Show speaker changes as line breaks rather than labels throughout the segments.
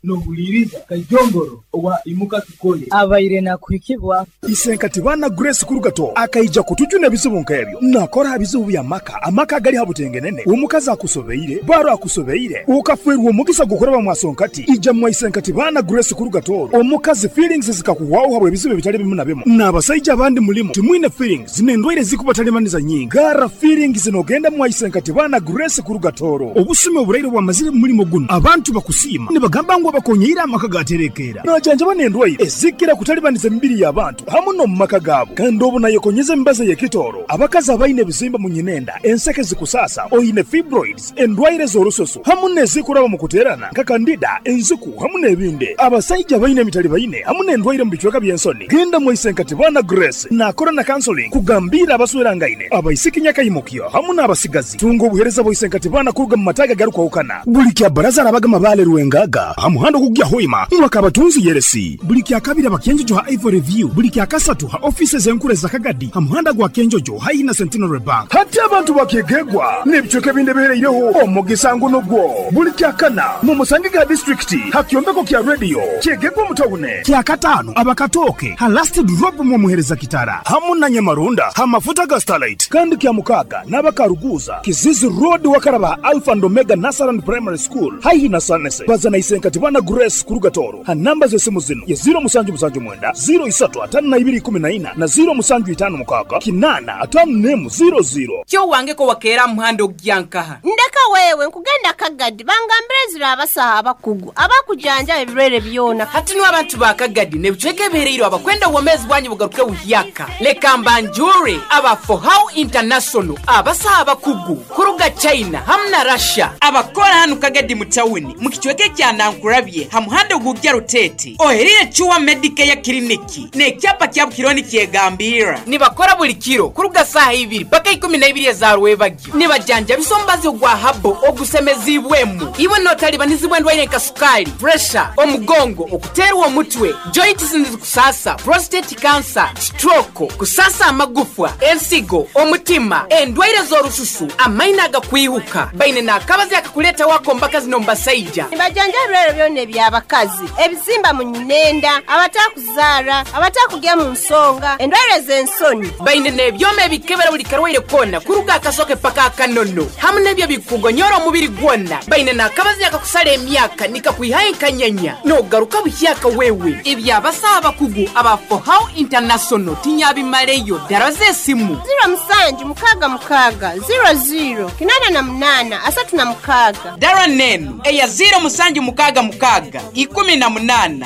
Nohuliiriza Kaijongoro owa Imuka Tukole.
Abaire nakuhikibwa.
Isenkati baana Grace Kurugato akaija kutujuna ebizibu nk'ebyo. Nakora ha bizibu by'amaka, amaka agali ha butengenene, omukazi akusobeire, baro akusobeire, okafeerwa omugisa gw'okuraba mwasonkati, ija mwa Isenkati baana Grace Kurugato. Omukazi feelings zikakuhwaho habw'ebizibu ebitali bimu na bimu. N'abasaija abandi mulimu timwine feelings n'endwaire zikubatalibaniza nyingi. Garra feelings n'ogenda mwa Isenkati baana Grace Kurugatoro. Obusumi oburaire obwamazire mu mulimo gunu, abantu bakusiima nibagamba ngu abakonyeire amaka gaterekeera. Najanjaba n'endwaire ezikira kutalibaniza emibiri y'abantu hamu n'omu maka gaabo. Kandi obu nayekonyeza emibazi ey'ekitooro, abakazi abaine ebizimba mu nyinenda, enseke zikusaasa, oine fibroids, endwaire z'orususu hamu n'ezikuraba mu kuteerana nka kandida, enziku hamu n'ebindi. Abasaija abaine emitalibaine hamu n'endwaire mu bicweka by'ensoni, genda mwa Isenkatibana Grace naakora na counseling kugambiira abaswerangaine, abaisiki nyakaimukyo hamu n'abasigazi. Tunga obuheereza bwa Isenkatibana kuruga mu mataagi agarukwahukana. Buli kya Baraza arabaga Mabaale Rwengaga ha muhanda ogukugya Hoima mwaka Kabatunzi Yeresi. Buli kya Kabiri aba Kyenjojo ha Ivory View. Buli kya Kasatu ha ofiisi ez'enkuru eza Kagadi ha muhanda gwa Kyenjojo haihi na Centenary Bank. Hati abantu ba Kyegegwa n'ebicweka ebindi ebihereireho omugisa ngu nugwo. Buli kya Kana mumusangege ha disiturikiti ha kyombeko kya rediyo Kyegegwa omu tawuni. Kya Kataano aba Katooke ha Last Drop mwomuhereza Kitara hamu na Nyamarunda ha mafuta ga Starlight. Kandi kya Mukaaga n'aba Karuguuza, Kizizi Road wakaraba ha Alpha and Omega Nursery and Primary School haihi na Sanese. Baza na Isenkati Bana Grace kuruga Tooro ha namba z'esimu zinu ye 0779 03 52 14 na 0756 851 00.
Kyo wange ko wakeera aha muhanda ogugya nkaha?
Ndeka wewe, nkugenda Kagadi bangambire ezira abasaho abakugu abakujanjaba ebirwaire byona.
Hati nu abantu ba Kagadi n'ebicweka ebihereirwe abakwenda obwomeezi bwanyu bugaruke buhyaka, leka mbanjure aba Fohow International abasaho abakugu kuruga China hamu na Russia abakora hanu Kagadi mu tawuni mu kicweka ekya Nankurabye ha muhanda ogugya Ruteete ohereire Cure Medicare Clinic n'ekyapa kyabu kiriho nikyegambirra. Nibakora buli kiro kuruga saaha ibiri paka ikumi na ibiri eza rwebagyo. Nibajanjabisa omubazi ogwa habo ogusemeziibwemu. Iwe n'otalibanizibwa endwaire nka sukaali, puresha, omugongo, okuteerwa omutwe, joints nizikusaasa, prostate cancer, stroke, kusaasa amagufwa, ensigo, omutima, endwaire z'orususu, amaino agakwihuka. Baine n'akabazi akakuleetaho ak'omu bakazi n'omu basaija.
Nibajanjaba ebirwaire byona eby'abakazi, ebizimba mu nyinenda, abatakuzaara, abatakugya mu nsonga, endwaire z'ensoni.
Baine n'ebyoma ebikebera buli karwaire koona kuruga akasoke paka akanono hamu n'ebyo ebikugonyora omubiri gwona. Baine n'akabazi akakusara emyaka nikakwihayo enkanyanya n'ogaruka buhyaka wewe. Eby'abasaho abakugu aba Fohow International tinyabimaleyo. Dara z'esimu.
Ziro musanju mukaaga mukaaga ziro ziro 88 36.
Dara n'enu eya ziro musanju mukaaga mukaaga 18 14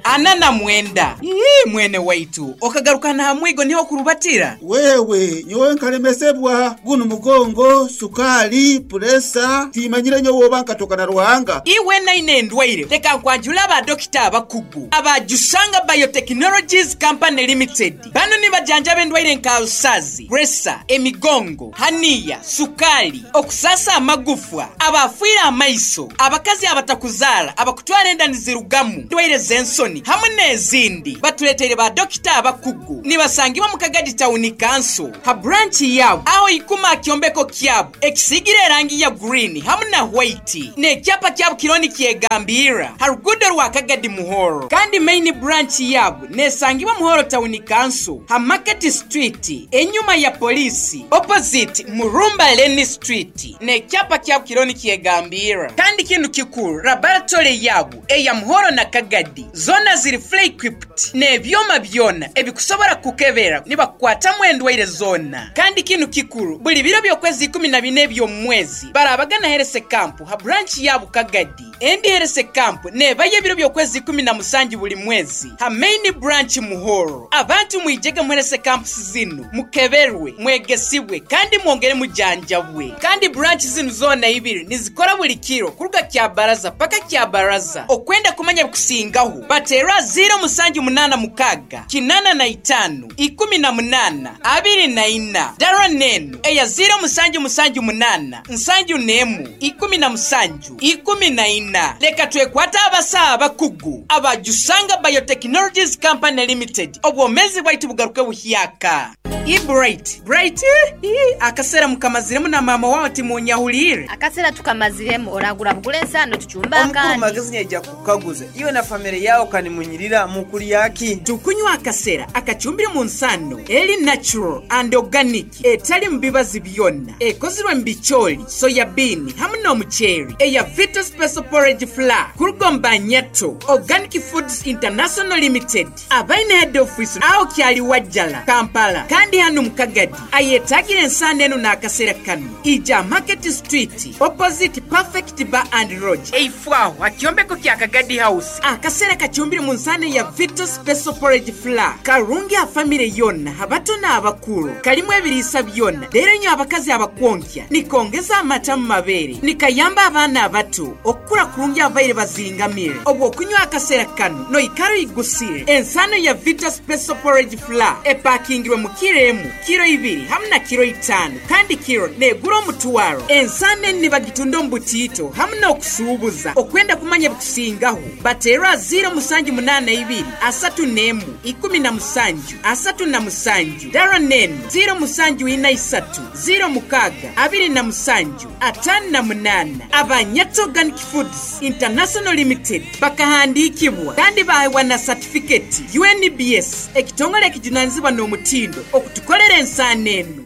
49. Ii mwene waitu, okagaruka n'aha mwigo niho okurubatira?
Wewe, nyowe nkalemesebwa gunu mugongo, sukaali, puresa, timanyire nyowe oba nkatoka na Ruhanga.
Iwe naine endwaire, leka nkwanjule aba dokita abakugu aba Jusanga Biotechnologies Company Limited. Bano nibajanjaba endwaire nka alusazi, puresa, emigongo, haniya, sukaali, okusaasa amagufwa, abaafiire amaiso, abakazi abatakuzaara, abakutwara enda nizirugamu, endwaire z'ensoni hamu n'ezindi. Batuleteire ba dokita abakugu. Nibasangibwa mu Kagadi Tawuni Kanso ha buranki yaabo aho ikuma aha kyombeko kyabo ekisiigire erangi ya guriini hamu na hwaiti n'ekyapa kyabo kiriho nikyegambirra ha ruguudo rwa Kagadi Muhoro. Kandi maini buranki yaabo nesangibwa Muhoro Tawuni Kanso ha Market Street enyuma ya poliisi opposite Murumba Lane Street n'ekyapa kyabo kiriho nikyegambirra. Kandi kinu kikuru laboratory yaabo eya Muhoro na Kagadi zoona ziri fully equipped n'ebyoma byona ebikusobora kukukebera nibakukwatamu endwaire zoona. Kandi kinu kikuru, buli biro by'okwezi 14 eby'omu mwezi barabagana Herese Camp ha branch ya Bukagadi. Endi Herese Camp nebayo ebiro by'okwezi 17 buli mwezi ha main branch Muhoro. Abantu mwijege mu Herese Camps zinu mukeberwe, mwegesibwe kandi mwongere mujanjabwe. Kandi branch zinu zoona ibiri nizikora buli kiro kuruga Kyabaraza paka Kyabaraza. Okwenda kumanya ebikusingaho, bateerwa 0786 85 18 24. Dara n'enu eya 0778 71 17 14. Leka twekwate abasawo abakugu aba Jusanga Biotechnologies Company Limited obwomeezi bwaitu bugaruke buhyaka. Ii Bright, Bright ii akaseera mukamaziremu na maama wawe timunyahuliire.
Akaseera tukamaziremu oragura bugura ensaano tucumbe
Omukuru
akandi.
Magezi nyaija kukukaguza iwe na famire yawe kanimunyirira mukulya ki?
Tukunywa akasera akacumbire mu nsano eri natural and organic etali mu bibazi byonna ekozirwe mu bicooli, soya bean hamu n'omuceeri eya Vita Special Porridge Flour kuruga omu Banyato Organic Foods International Limited abaine head office aho kyali Wajjala, Kampala kandi hanu mu Kagadi ayetagire ensaano enu n'akaseera kanu ija Market Street opposite Perfect Bar and Lodge eifo aho ha kyombeko kya Kagadi House. Akaseera kacumbire mu nsano ya Vita Special Porridge Flour karungi ha famire yonna abato n'abakuru kalimu ebiriisa byonna leero nyo abakazi abakwonkya nikongeza amata mu mabeere nikayamba abaana abato okukura kurungi abaire bazingamire obw'okunywa akaseera kano noikara oigusire. Ensano ya Vita Special Porridge Flour epakingirwe mu kiro emu, kiro ibiri hamu na kiro itaano kandi kiro negura omutwaro. Ensano enu nibagitunda omu butiito hamu n'okusuubuza. Okwenda kumanya bikusingaho bateerwa 0782 31 17 37 dara nenu 0743 06 27 58. Abanyato Organic Foods International Limited bakahandiikibwa kandi baheebwa na satifiketi UNBS ekitongole ekijunanizibwa n'omutindo okutukolera ensaano enu.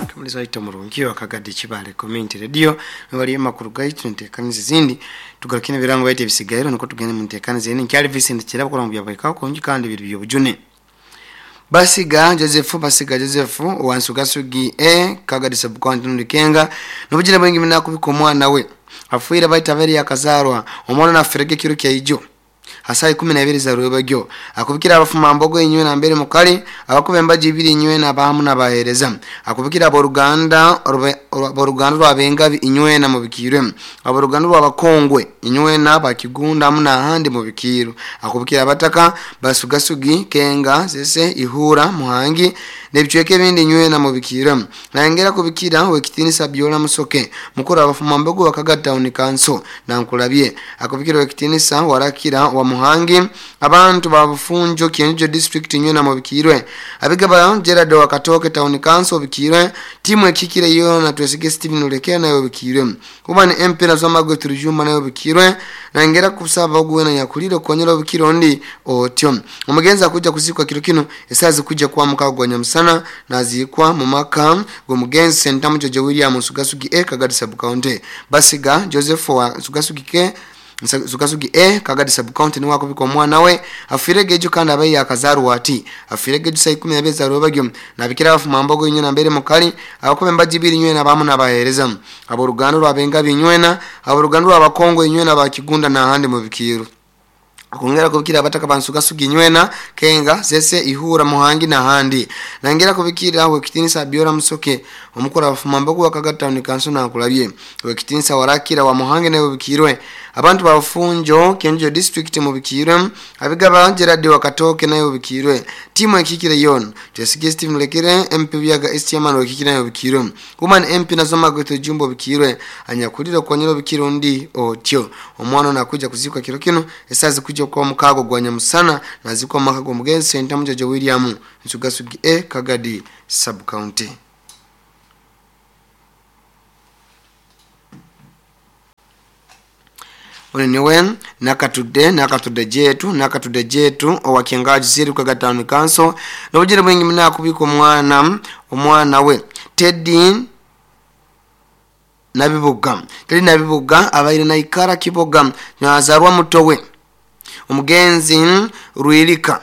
Kamuliza waita murungi wa Kagadi Kibale Community Radio bali amakuru gaitu ntekaniza izindi tugarukine birango baite bisigairo niko tugende mu ntekaniza eni nkyali Vincent Kirabo kola mu byabaika konji kandi biri byobujune. Basiga Joseph Basiga Joseph wansugasugi e Kagadi sub-county Ndukenga nobujira bwingi mina kubika omwana we afuira baita bari yakazarwa omwana na ferege kiro kya ijo hasai 12 za rwebagyo akubikira abafuma mbogo inywe na mbere mukali abakuba embaji ibiri inywe na bahamu na bahereza akubikira aboruganda aboruganda rwabengabi inywe na mubikirwe aboruganda rwabakongwe inywe na bakigunda hamu na handi mubikiru akubikira abataka basugasugi kenga sese ihura muhangi nebicweke bindi inywe na mubikirwe nangera kubikira wekitinisa byola musoke mukuru abafuma mbogo wakagata town council na nkulabye akubikira wekitinisa warakira wa Muhangi abantu babufunjo Kienjo district inywe na mubikirwe abigaba Gerard wa Katoke town council bikirwe timu ekikire yo na twesige Steven Ulekea nayo bikirwe kuba ni MP na zoma turujuma nayo bikirwe nangera kusaba ogwe na nyakuliro konyera bikiro ndi otyo omugenza kuja kuzikwa kiro kino esazi kuja kwa mukago nyamusana nazikwa mu maka go mugenzi Sentamu Jojo William Sugasugi e Kagadi sub county Basiga Joseph wa Sugasugi ke Sugasugi e Kagadi sub county niwako biko mwana we afirege ejo kandi abaye yakazarwa ati afirege ejo saa 12 za rwebagyo nabikira abafuma mbogo inywe na mbere mukali abakobe mbaji ibiri inywe na bamu nabahereza aboruganda rwabenga binywena aboruganda rwabakongo inywe na bakigunda na handi mu bikiru akongera kubikira abataka bansugasugi nywena kenga zese ihura muhangi na handi nangera kubikira wekitinisa biora musoke omukora abafuma mbogo wakagata ni kanso na kulabye wekitinisa warakira wa muhangi nayo bikirwe abantu bafunjo Kienjo district mu bikirwe abigaba Gerard wakatoke nayo bikirwe timu ekikire yon Jesige Steven Lekere MP byaga Estiaman wekikire nayo bikirwe Woman MP nazoma gweto jumbo bikirwe anyakulira konyero bikiro ndi otyo omwana nakuja kuzikwa kiro kino esazi kuja kwa mukago gwa nyamusana nazikwa makago mugenzi Sentamu Jojo William Nsugasugi e Kagadi sub county. Oneniwe nakatude jetu owakiangaji ziri kwa Town Council nobujira bwingi mna kubika omwana we Teddy Nabibuga abaire na ikara kiboga nazarwa mutowe omugenzi Ruilika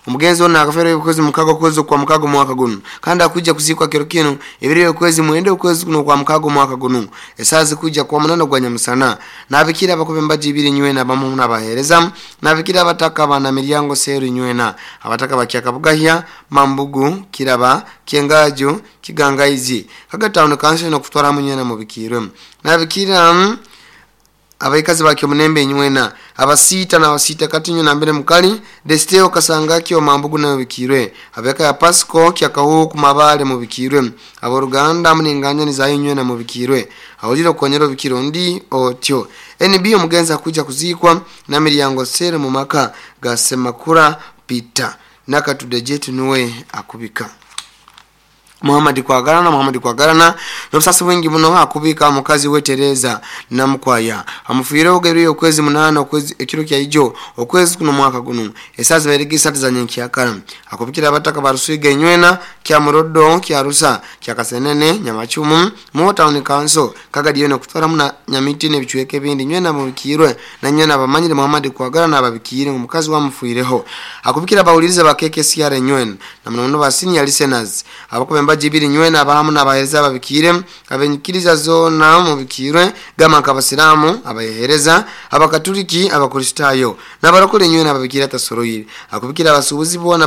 omugenzi ono akafera okwezi mukago kwezi kwa mukago mwaka guno kandi akuja kuzikwa kiro kino ebiri okwezi mwende okwezi kuno kwa mukago mwaka guno esazi kuja kwa munano gwa nyamusana nabikira abakobe mbaji ibiri nywena bamu nabahereza nabikira abataka bana miryango seru nywena abataka bakyakabugahya mambugu kiraba kyengajo kigangaizi Kagatown Council no kutwara munywena mubikirwe nabikira abaikazi bakyo munembe nywena abasita na wasita kati nywena mbere mukali desteo kasanga kyo mambugu nayo bikirwe abeka ya Pasco kyakahu kumabale mubikirwe aboruganda muninganya ni zayo nywena mubikirwe awulira konyero bikiro ndi otyo NB omugenza kuja kuzikwa na miryango sere mu maka gasemakura Peter Nakatude nuwe akubika. Muhammad Kwagalana n'obusasi bwingi muno akubika mukazi we Tereza Namukwaya amufiireho gebiri okwezi 8 okwezi ekiro kya ijo okwezi kuno mwaka guno esazi bairigi za nyenkyakara akubikira abataka barusiga enywena kya Murodo kya Rusa kya Kasenene Nyamachumu mu town council Kagadi yone kutwara muna Nyamiti n'ebichweke ebindi nywena mubikirwe na nywena abamanyire Muhammad Kwagalana ababikire omukazi wamufiireho akubikira abawuliriza ba KKCR nywena na muno ba senior listeners abakuba jibiri nywena abahamu n'abahereza ababikire abenyikiriza zona mubikirwe gama nk'abasiramu abahereza abakatuliki abakristayo n'abarokole nywena ababikira tasoroyire akubikira abasubuzi bona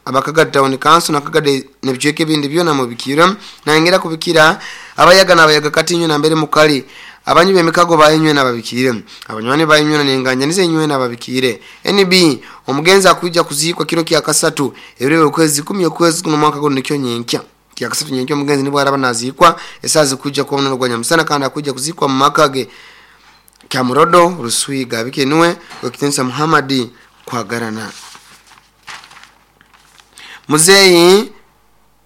abakaga town council nakagade n'ebichweke ebindi byona mubikirwe nangera kubikira abayaga n'abayaga kati nywena mbere mukali abanyu b'emikago bayinywe n'ababikire abanywani bayinywe n'enganya nize nywe n'ababikire. NB omugenzi akuja kuziikwa kiro kya kasatu ebiro okwezi 10 okwezi kuno mwaka guno nikyo nyenkya kya kasatu nyenkya omugenzi nibwo araba naziikwa esazi kuja kwa munono gwa nyamusana kandi akuja kuziikwa mu maka ge kya Murodo Ruswiga bikenwe wekitensa Muhammad Kwagalana. Muzeyi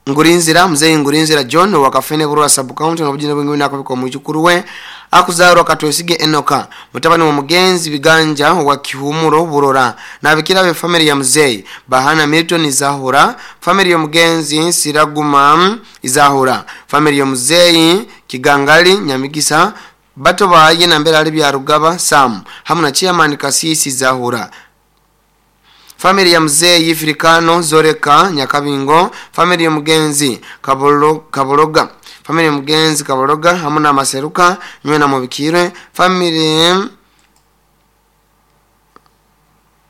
Ngurinzira John wakafene Burora sub county n'obujina bwingi nakabika mujukuru we akuzarwa Katwesige Enoka mutabani wa mugenzi Biganja wa Kihumuro Burora nabikira be family ya Muzeyi Bahana Milton Izahura family ya mugenzi Siraguma Izahura family ya Muzeyi Kigangali Nyamigisa bato baye na mbere ali bya Rugaba Sam hamwe na chairman Kasisi Izahura family ya Muzeyi Afrikano Zoreka Nyakabingo family ya mugenzi Kabologa family ya mugenzi Kabologa hamwe na Maseruka nywe na mubikirwe family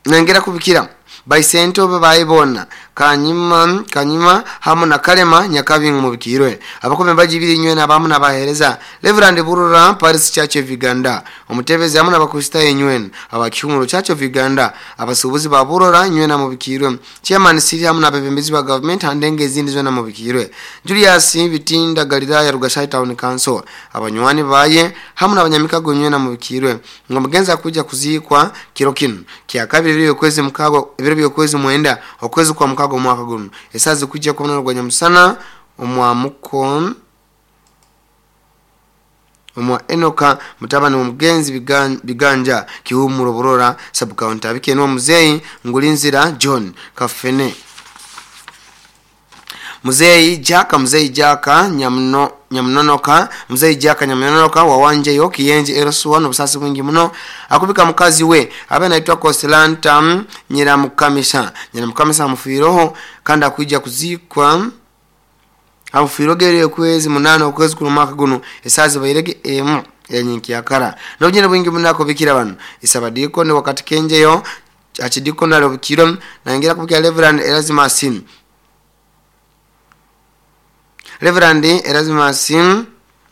nengera kubikira Baisento babayibona Kanyima hamwe na Kalema Nyakabingo mubikirwe abakombe bajibiri nywe na bamu nabahereza Reverend Burura Paris Church of Uganda omutebezi hamwe n'abakristayo nywe abakihumuro Church of Uganda abasubuzi ba Burura nywe na mubikirwe Chairman Siri hamwe n'abebembezi ba government handenge izindi zwe na mubikirwe Julius Bitinda Galilaya Rugashai Town Council abanywani baye hamwe n'abanyamikago nywe na mubikirwe ngo mugenza kuja kuzikwa kiro kino kya kabiri biri kwezi mukago ebiro okwezi mwenda okwezi kwa mukago mwaka guno esazi kujja kubona rwa nyamusana omwamuko omwa Enoka mutabani omugenzi Biganja Kihumuro Burora sub county abikenwa Muzeyi Ngulinzira John Kafene. Muzeyi Jaka Nyamunonoka Muzeyi Jaka Nyamunonoka wawanje yo Kiyenje Erosuwa n'obusasi bwingi muno akubika mukazi we abe anaitwa Consolanta Nyiramukamisa amufiireho kandi akuija kuzikwa amufiirogere okwezi 8 okwezi kuno mwaka guno esazi bairege emu yanyinkiyakara n'obujina bwingi muno akubikira bano isabadiko ne wakati kenjeyo achidiko nalo bukiro nangera kubikira Reverend Erasmus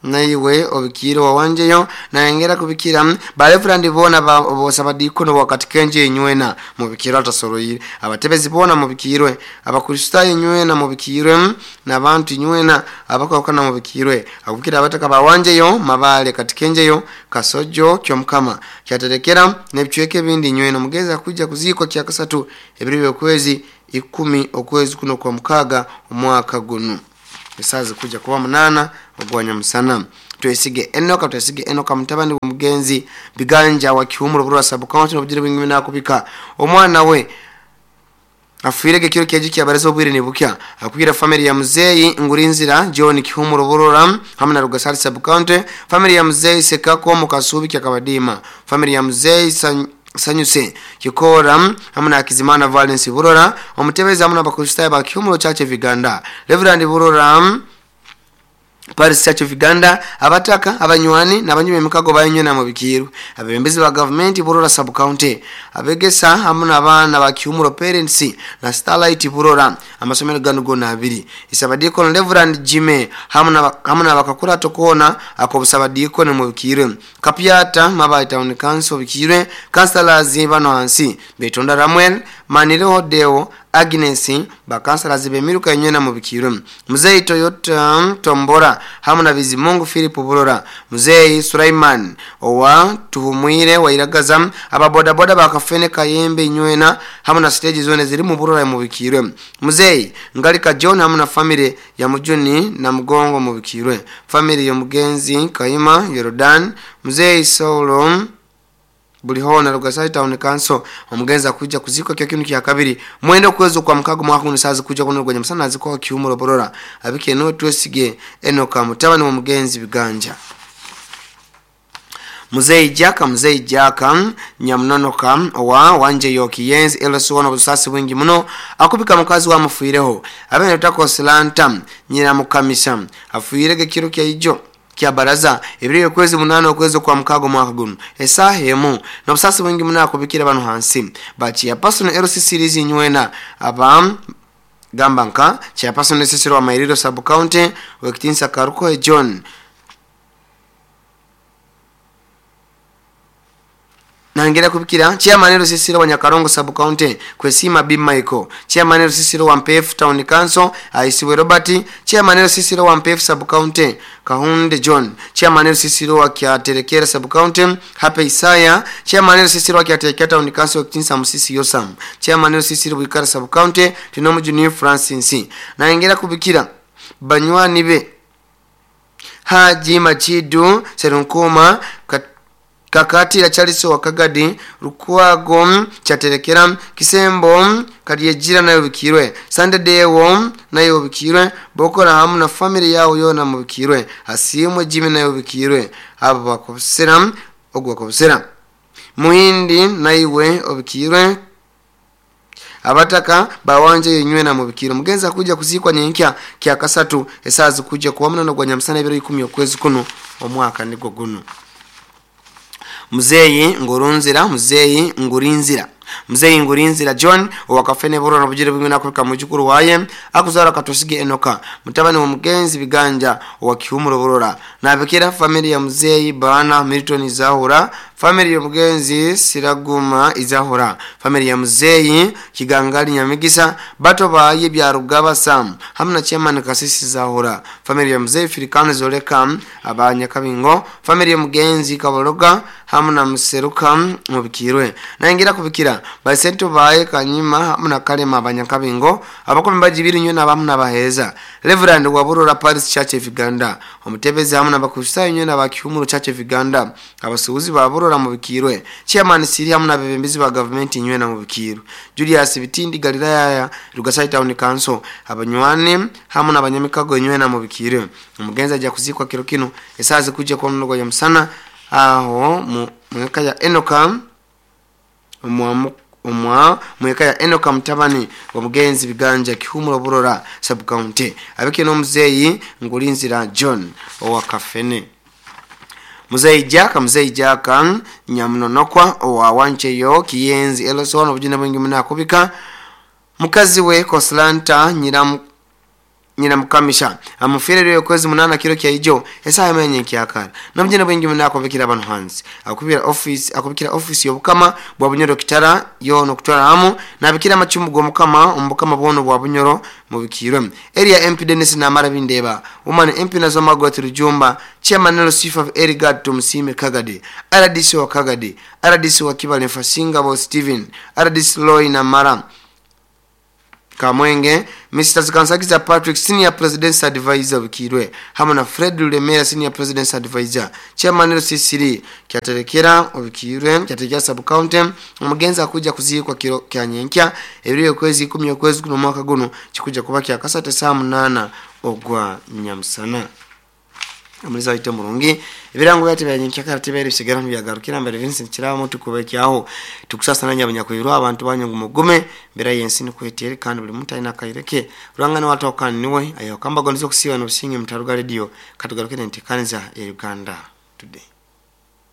naiwe obikiro wawanjeyo nayengera kubikira ba Reverend bona bosabadiko no wakati kenje nywena mubikiro atasoroyire abatebezi bona mubikirwe abakristayo nywena mubikirwe nabantu nywena abakokana mubikirwe akubikira abataka bawanjeyo mabale katikenjeyo Kasojo kyomkama kyaterekera nebichweke bindi nywena mugeza kuja kuzikwa kya kasatu ebiro okwezi 10 okwezi kuno kwa mukaga omwaka guno esazi kuja kuba 8 ogwanya musana. Twesige Enoka mutabani w'omugenzi Biganja wa Kihumuro Burora sub county n'obujira bwingi nakubika omwana we afiirege kiro kyeji kyabareza obwire nibukya akubira family ya Muzeyi Ngurinzira John Kihumuro Burora hamwe na Rugasari sub county family ya Muzeyi Sekako Mukasubi kyakabadima family ya Muzeyi Sanyuse Kikora hamwe na Kizimana Valence Burora omutebezi hamwe n'abakristayo ba Kihumuro Church of Uganda Reverend Burora Paris Church of Uganda abataka abanywani n'abanyume emikago bayinywe na mubikiru abebembezi ba government Burora sub county abegesa hamwe n'abaana ba Kihumuro parents na Starlight Burora amasomero gano gona abiri isabadiko Reverend Jime hamwe n'abakakura tokona akobusabadiko ne mubikiru Kapiata Mabayi Town Council bikirwe councillors bano hansi Betonda Ramuel Manireho Deo Agnes bakansalazi bemiruka enywena mubikirwe Muzeyi Toyota Tombora hamu na Bizimungu Philip Burora Muzeyi Sulaiman owa Tuhumwire wairagaza ababodaboda bakafene Kayembe inywena hamu na stage zone ziri mu Burora mubikirwe Muzeyi Ngalika John hamu na family ya Mujuni na Mugongo mubikirwe family ya Mugenzi Kaima Yordan Muzeyi Saulo Bulihona Rugasai Town Council omugenza kuja kuzikwa kyo kinu kya kabiri mwendo kwezo kwa mukago mwaka unisazi kuja kuno gwenye musana azikwa kiumuro Borora abike no twesige Enoka mutabani wa mugenzi Biganja Muzeyi Jaka Nyamunonoka wa Wanje Yoki Yenzi Elosona busasi bwingi muno akubika mukazi wa mufuireho abene takosilanta nyina mukamisa afuirege kiro kya ijo kya baraza ebiri kwezi 8 okwezi kwa mukago mwaka guno esaha emu nobusasi bwingi muno akubikira bano hansi bachi ya person LC series nywena aba gambanka cha person LC wa Mairiro sub county wekitinsa Karuko John Nangera kubikira chairman LC wa Nyakarongo sub county kwesima B Michael chairman LC wa MPF town council Aisiwe Robert chairman LC wa MPF sub county Kahunde John chairman LC wa Kyaterekera sub county Hape Isaya chairman LC wa Kyaterekera town council Kinsa Musisi Yosam chairman LC wa Ikara sub county Tinomu Junior Francis Nangera kubikira banywani be Haji Machidu Serunkoma Kakati la Charles wa Kagadi Rukwago Chaterekera Kisembo Karyejira nayo bikirwe Sande Dewo nayo bikirwe Bokora hamu na family yao yona mubikirwe Asimwe Jimmy nayo bikirwe abo bakobsera ogwa kobsera Muhindi naiwe obikirwe abataka bawanje yenywe na mubikiro mugenza kuja kuzikwa nyenkya kya kasatu esazi kuja kuwamna no gwa nyamsana ebiro 10 okwezi kuno omwaka nigwo guno Muzeyi Ngurinzira John owakafene Borora nobujire bwimwe nakuka mujukuru waye akuzara katosige Enoka mutabani wa mugenzi Biganja owa Kihumuro Borora nabikira family ya Muzeyi Bana Milton Izahura family ya mugenzi Siraguma Izahura family ya Muzeyi Kigangali Nyamigisa bato baye bya Rugaba Sam hamna chairman Kasisi Zahura family ya Muzeyi Filikano Zoleka abanya Kabingo family ya mugenzi Kaboroga hamna Museruka mubikirwe nangira kubikira basento baye Kanyima hamna Kalema abanyakabingo abakombe bajibiri nywe nabamna baheza Reverend wa Burora Paris Church of Uganda omutebezi hamna bakusayo nywe nabakihumuro Church of Uganda abasuuzi ba Burora mubikirwe chairman Siri hamna bebembezi ba government nywe na mubikirwe Julius Bitindi Galilaya Rugasai Town Council abanywane hamna abanyamikago nywe na mubikirwe umugenza ajya kuzikwa kiro kino esazi kuja kwa mnogo ya msana aho mweka ya Enoka mweka ya Enoka mutabani wa mugenzi Biganja Kihumuro Burora sub county abike no Muzeyi Ngurinzira John owa Kafene Muzeyi Jaka Nyamunonokwa owa Wancheyo Kiyenzi Elosona obujina bwingi munakubika mukazi we Koslanta nyina mukamisha amufirere kwezi 8 kiro kya ijo esaha menye kyakara namjina bwingi munako bikira abantu hansi akubikira office yobukama bwa Bunyoro kitara yo no kutwara hamu nabikira machumu go mukama ombukama bono bwa Bunyoro mubikirwe area MP Dennis Namara Bindeba woman MP Nazoma Gwati Rujumba chairman Lucifer Erigad Tumsime Kagadi RDC wa Kagadi RDC wa Kibale Fasinga bo Steven RDC Loy Namara Kamwenge Mr. Zikansakiza Patrick Senior President's Advisor Bikirwe hamwe na Fred Lemera Senior President's Advisor Chairman LCCD kyaterekera obikirwe kyaterekera sub county omugenzi akuja kuzikwa kiro kya nyenkya ebiri okwezi 10 okwezi kuno mwaka guno kikuja kuba kya kasate saa 8 ogwa nyamusana Amuliza ite murungi ebirango byate bya nyenkya karate bere bisigara byagarukira mbere Vincent Kiraba mutu kubekyaho tukusasa nanya abanyakwirwa abantu banyu mugume mbera yensi ni kweteri kandi buli muntu alina kaireke rwangana watokana niwe ayo kamba gonzo kusiba no businge mutaruga radio katugarukire ntikaniza ya Uganda today.